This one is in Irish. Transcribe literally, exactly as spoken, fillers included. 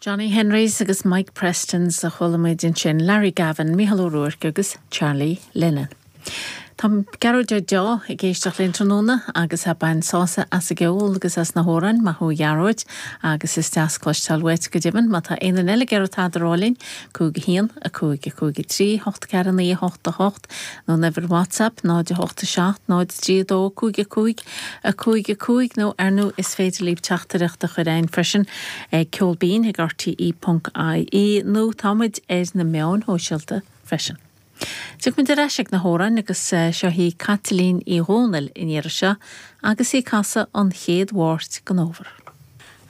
Johnny Henrys agus Mike Prestons a chuala muid ansin Larry Gavin, Mícheál Ó Ruairc agus Charlie Lennon. Tá Gearóid Ó Deá ag éisteacht linn tráthnóna agus ag baint sásamh as an gceol agus as na hamhráin maith thú a Ghearóid agus is deas cloisteáil uait go deimhin má tá aon eile ag iarraidh tada a rá linn cúig a haon a cúig a cúig a trí hocht ceathair naoi hocht a hocht nó uimhir WhatsApp náid a hocht a seacht náid trí dó cúig a cúig a cúig a cúig nó ar nó is féidir libh teachtaireacht a chur chugainn freisin ag ceolbinn ag RTE.ie nó táimid ar na meáin shóisialta freisin. Tiocfaimid ar ais ag na hamhráin agus seo í Caitlín Uí Dhónaill in iarra seo agus í ag casadh an chéad Mháirt den fhómhar.